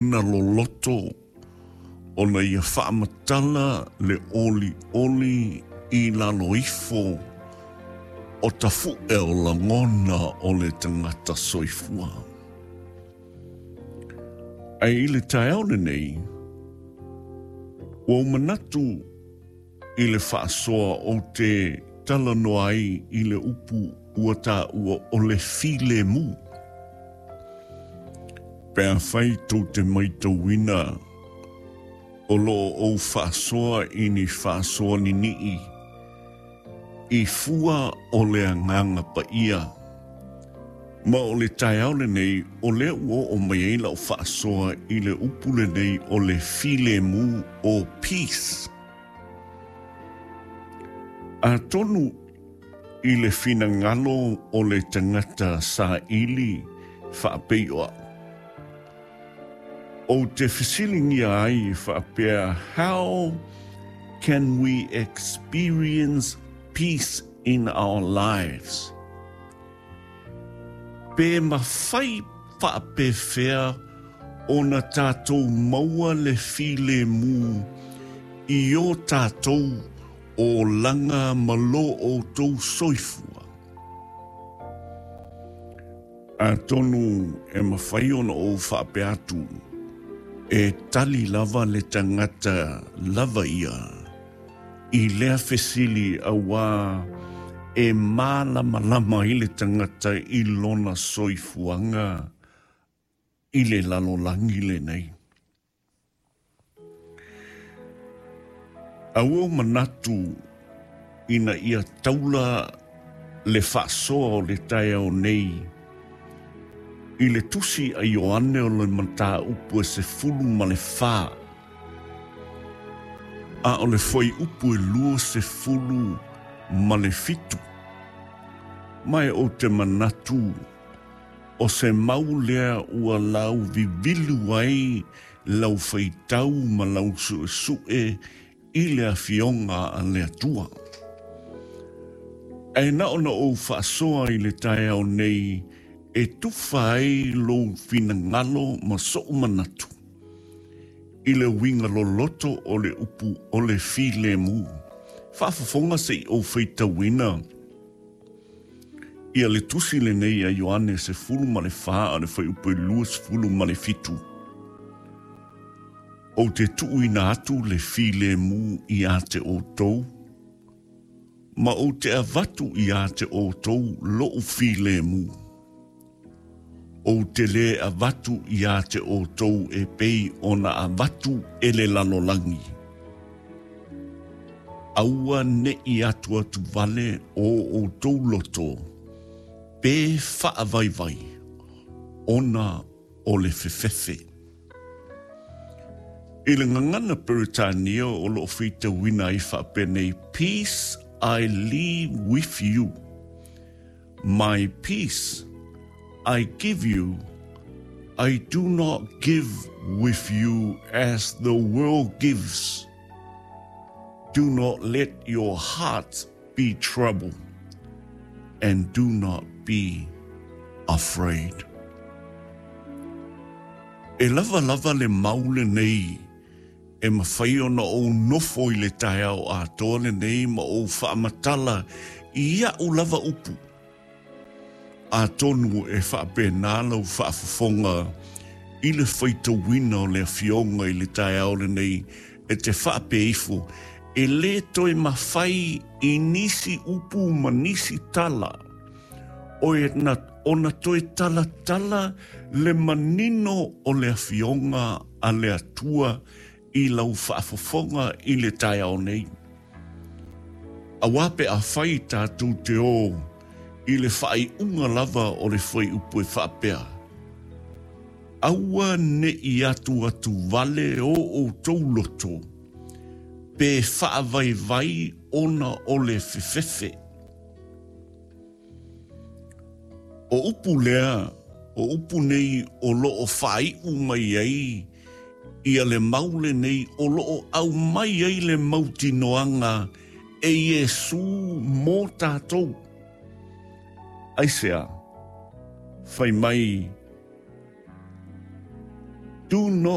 Na loloto ona ia faamatala le olioli i lalo ifo o tafu'e o lagona o le tagata soifua. Ae i le taeao lenei, ua ou manatu i le faasoa ou te talanoa ai i le upu ua taua o le filemu. Pe afai tou te maitauina o lo o ou faasoa i ni faasoa nini'i i fua o le Agaga Paia, ma o le taeao lenei o lea ua oo mai ai lau faasoa i le upu lenei o le filemu o peace. Atonu i le finagalo o le tagata saili faapei o a'u, ou te fesiligia ai faapea, How can we experience peace in our lives? Pe mafai faapefea ona tatou maua le filemu i o tatou olaga ma lo outou soifua? Atonu e mafai ona ou faapea atu, e tali lava le tagata lava ia i lea fesili auā e mālamalama ai le tagata i lona soifuaga i le lalolagi lenei. A ua ou manatu ina ia taula le faasoa o le taeao nei i le tusi a Ioane o le mataupu e 14, a o le fuaiupu e 27, ma e ou te manatu o se mau lea ua lauvivilu ai lau faitau ma lau suesue i le Afioga a le Atua. Ae na ona ou faasoa i le taeao nei e tufa ai lou finagalo ma so'u manatu i le uiga loloto o le upu o le filemu. Faafofoga se i ou faitauina ia le tusi lenei a Ioane 14 a le fuaiupu e 27. Ou te tuuina atu le filemu iā te outou, ma ou te avatu iā te outou lo'u filemu. Ou te lē avatu iā te outou e pei ona avatu e le lalolagi. Aua ne'i atuatuvale o outou loto pe faavaivai ona o le fefefe. I le gagana Peretania o lo o faitauina ai faapenei, Peace I leave with you, my peace I give you, I do not give with you as the world gives. Do not let your hearts be troubled, and do not be afraid. E lava lava le mau lenei e mafai ona ou nofo i le taeao atoa lenei ma ou faamatala i a'u lava upu. Atonu e faapena lau faafofoga i le faitauina o le Afioga i le taeao lenei e te faapea ifo, e lē toe mafai i nisi upu ma nisi tala ona toe talatala le manino o le Afioga a le Atua i lau faafofoga i le taeao nei. Auā pe afai tatou te ō i le faaiuga lava o le fuaiupu e faapea, Aua ne'i atuatuvale o outou loto, pe faavaivai ona o le fefefe. O upu lea, o upu nei o lo o faaiu mai ai ia le mau lenei o lo o aumai ai le mautinoaga e Iesū mō tātou. Aisea? Fai mai, Do not.